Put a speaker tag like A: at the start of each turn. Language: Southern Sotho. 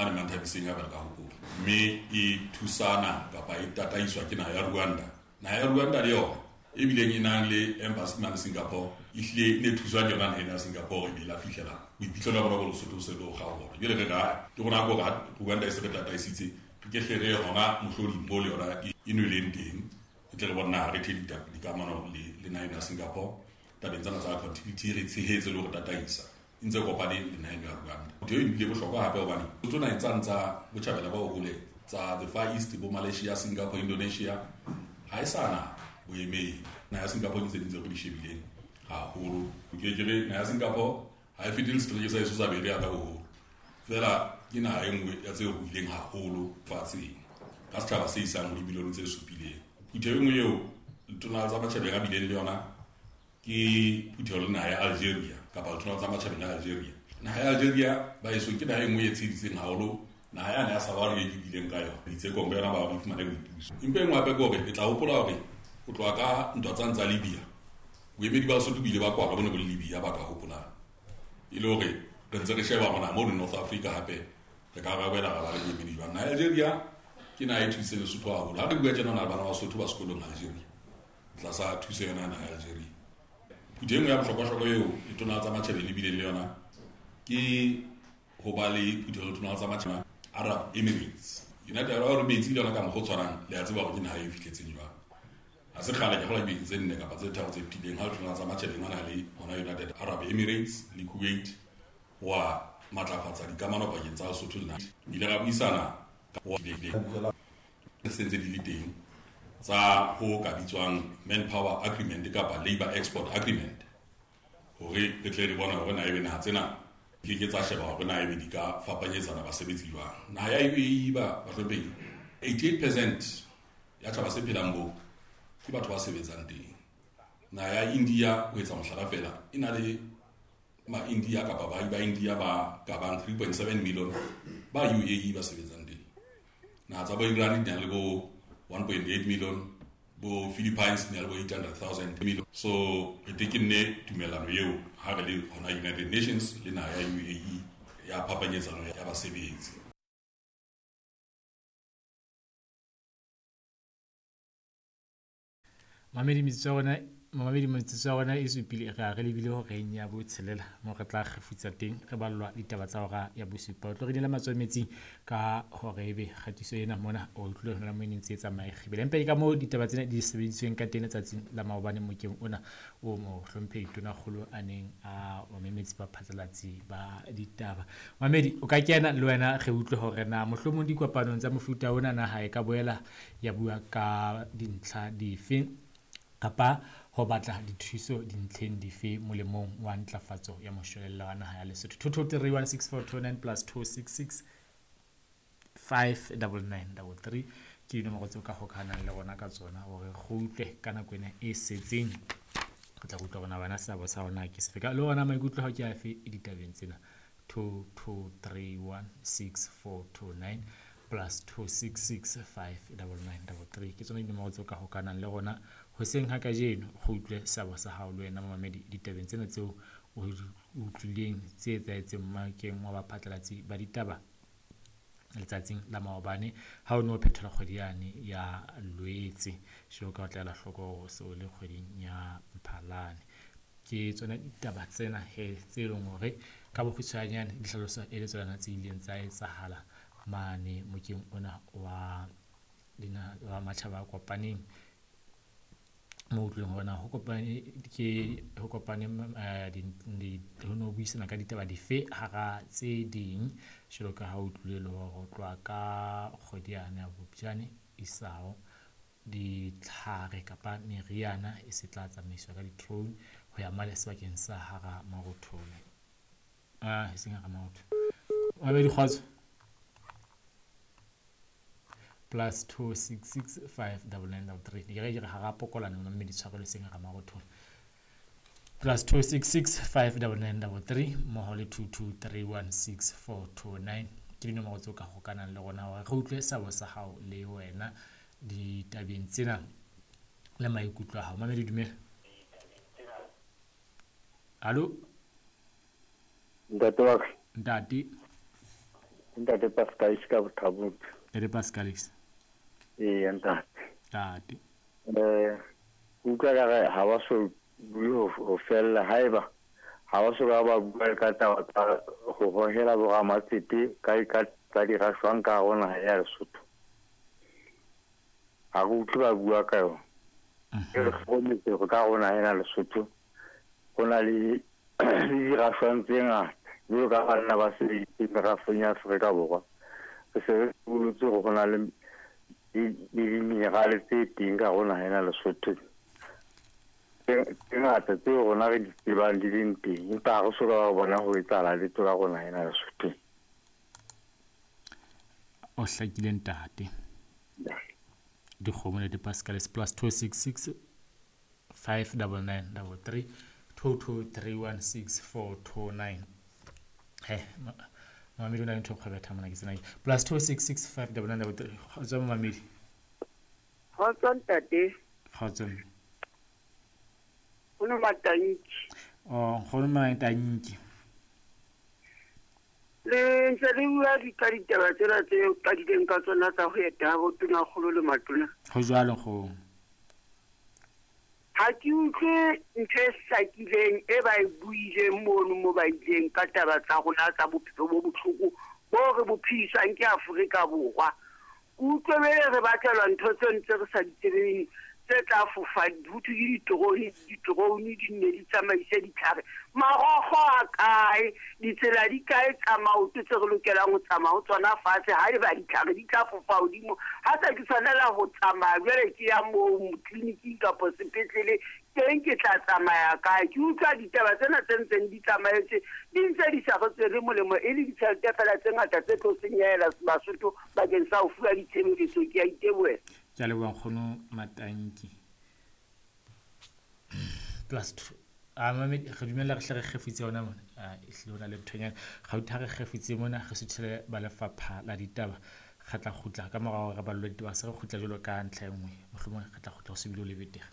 A: Mane Manthabiseng hape re ka hopola. Mme e thusana kapa e tataiswa ke naha ya Rwanda. Naha ya Rwanda le yona e bileng e nang le embassy mane Singapore, e hlile e ne thuswa ke yona naha ena ya Singapore, e be la fihlela boiphihlelo ba bona bo Lesotho bo se bo kgaoha. Jwale re re ha ke rona ko ha Rwanda e se re tataisitse, re ke hle re ye hona mohloding mo le yona e nweleng teng, re tle re bone na re the dikamano le naha ena ya Singapore tabeng tsena tsa accountability, re tshehetse le ho re tataisa e ntse kopane le naha eno ya Rwanda. Ntho eo e bile bohlokwa hape hobane tsona naheng tsane tsa botjhabela ba hole tsa the Far East, bo Malaysia, Singapore, Indonesia, ha e sa na boemedi. Naha ya Singapore ke tse ding tseo re di shebileng haholo. Ke ke re naha ya Singapore ha e fete le setereke sa heso sa Berea ka boholo, feela ke naha e nngwe ya tse ruileng haholo fatsheng ka setjhaba se isang ho dimilione tse supileng. Phutheho e nngwe eo letona tsa matjhabeng a bileng le yona ke phutheho le naha ya Algeria kapa letona tsa matjhabeng a Algeria. Naha ya Algeria ba heso ke naha e nngwe e tsheheditseng haholo naha yane ya Sahara e ke bileng ka yona ditsekong ka yona ba ba fumane boipuso. Empa e nngwe hape ke hore le tla hopola hore ho tloha ka ntwa tsane tsa Libya, boemedi ba Lesotho bo ile ba kwalwa, bo ne bo le Libya ba ka hopolang, e le hore re ntse re sheba mona mono North Africa hape re ka ra boela ra ba le boemedi jwang. Naha ya Algeria ke naha e thusitseng Lesotho haholo. Ha re bua tjena, na le bana ba Sotho ba sekolong Algeria tlasa thuso yona naha ya Algeria. Phutheho e nngwe ya bohlokwa-hlokwa eo letona tsa matjhabeng le bileng le yona ke ho ba le phutheho letona tsa matjhabeng Arab Emirates. United Arab Emirates le yona ka mokgwa o tshwanang, le a tseba hore ke naha e fihletseng jwang. Ha se kgale, ke kgolwa dibeke tse 4 kapa tse 3 tse fetileng, ha letona tsa matjhabeng a na le hona United Arab Emirates le Kuwait wa matlafatsa dikamano pakeng tsa Lesotho le naha. Ile ra buisana ka se ntse di le teng tsa ho ka bitswang manpower agreement kapa labor export agreement, hore re tle re bone hore na ebe naha tsena ke ke tsa sheba hore na ebe di ka fapanyetsana basebetsi jwang. Naha ya UAE ba bahlomphehi, 88% ya tjhaba se phelang moo ke batho ba sebetsang teng. Naha ya India, ho etsa mohlala fela, e na le ma India kapa baahi ba India ba ka bang 3.7 million ba UAE ba sebetsang teng. Naha tsa bo Iran di na le bo 1.8 million, bo Philippines di na le bo 800,000 million. So re tekenne tumellano eo ha re le hona United Nations le naha ya UAE ya phapanyetsano ya basebetsi.
B: Mamedi metsotso ya rona, mamedi metsotso ya rona e supile re a re lebile horeng ya botshelela mo re tla kgefutsa teng re ballwa ditaba tsa hora ya bosupa. O tlo re dinela matsoho metsing ka hore ebe kgatiso ena mona o utlwile hona mo e neng tse tsamaye kgibele. Empa ke ka moo ditaba tsena di sebedisitsweng ka teng letsatsing la maobane mokeng ona o mohlomphehi Tonakgolo a neng a o memetse baphatlalatsi ba ditaba. Mamedi, o ka kena le wena re utlwe hore na mohlomong dikopanong tsa mofuta ona naha e ka boela ya bua ka dintlha dife kapa ho batla dithuso dintlheng dife molemong wa ntlafatso ya moshwelella wa naha ya Lesotho. 2231649 plus 266 59933 ke dinomoro tseo ka hokahanang le rona ka tsona hore re utlwe ka nako ena e setseng. Re tla utlwa rona bana seabo sa rona ke sefe ka le ona maikutlo hao ke afe ditabeng tsena. 22316429 plus 266 59933 ke tsona dinomoro tseo ka hokahanang le rona hoseng ha kajeno. Re utlwe seabo sa hao le wena momamedi ditabeng tsena tseo o utlwileng tse etsahetseng mmakeng wa baphatlalatsi ba ditaba letsatsing la maobane ha o ne o phethelwa kgwedi yane ya Loetse. Jwalo ka o tla ela hloko hore se o le kgweding ya Mphalane. Ke tsona ditaba tsena he tse leng hore ka bokgutshwanyane di hlalosa e le tsona tse ileng tsa etsahala mane mokeng ona wa dina wa matjhaba a kopaneng, mo utlweng hore na ho kopane ke ho kopane ho no buisana ka ditaba dife hara tse ding, jwalo ka ha o utlwile le hore ho tloha ka kgwedi yane ya Phupjane isao ditlhare kapa meriana e se tla tsamaiswa ka di-drone ho ya mane sebakeng sa hara Marothole, ah e seng hara Marothole. Mabedi kgotso plus 266 59933 ke re ke re hara pokolane mme di tshwarelo seng hara Marothole plus 266 59933 mmoho le 22316429 ke dinomoro tseo ka hokanang le rona hore re utlwe seabo sa hao le wena ditabeng tsena le maikutlo a hao. Mamedi, dumela. Hallo.
C: Ntate wa ka.
B: Ntate.
C: Ntate Pascal ka Bothabong.
B: Ntate Pascalis.
C: Ee, ntate.
B: Ntate.
C: Utlwa ka re ha ba so bue ho fella haeba ha ba so ka ba bua ka taba tsa ho hohela boramatsete ka tsa dirashwang ka hare ho naha ya Lesotho. Ha re utlwe ba bua ka yona. Re hlokometse hore ka hare ho naha ena Lesotho ho na le dirashwang tse ngata jwalo ka banna ba sebeditseng merafong ya Afrika Borwa. Re se re bolotse hore ho na le diminerale tse teng ka hare ho naha ena Lesotho tse ngata tseo rona re di tsebang di leng teng, empa ha re so ka re bona ho etsahala letho ka rona ena Lesotho.
B: O hlakile ntate. Dikgomo le di-Pascalis +266 599 33 22316 429. He, mamedi o na le ntho e kgwebetha mona ke tsena. +266 599 33. Kgotso mamedi.
D: Kgotso ntate.
B: Kgotso.
D: Nkgono Matanki.
B: Oh, nkgono Matanki.
D: Le ntse le bua ka ditaba tsena tse qadileng ka tsona tsa ho eta bo tonakgolo le matona.
B: Ho jwalo nkgono.
D: Ha ke utlwe ntho e hlakileng e ba e buileng mono mo ba ileng ka taba tsa rona tsa bophelo bo bohloko bo re bo phediswang ke Afrika Borwa. Ke utlwe bele re batlelwa ntho tse ntse re sa di tsebeng tse tla fofa ho thwe ke diterone di nne di tsamaise ditlhare. Marokgo a kae, ditsela di kae tsa maoto tse re lokelang ho tsamaya ho tsona fatshe haeba ditlhare di tla fofa hodimo. Ha se ke tshwanela ho tsamaya jwale ke ya moo tleliniking kapa sepetlele teng ke tla tsamaya kae. Ke utlwa ditaba tsena tse ntseng di tsamaetse di ntse di sa re tswele molemo e le ditjhelete feela tse ngata tse tlo senyehela Basotho bakeng sa ho fuwa ditshebeletso. Ke a itebohela.
B: Ke a leboha nkgono Matanki. +2 a mamedi re dumella re hle re kgefutse yona mona. Ehlile ho na le nthonyana. Gauta re kgefutse mona re suthele ba lefapha la ditaba. Re tla kgutla ka morao re ballwe ditaba se re kgutla jwalo ka ntlha e nngwe. Mohlomong re tla kgutla ho se bile ho le betere.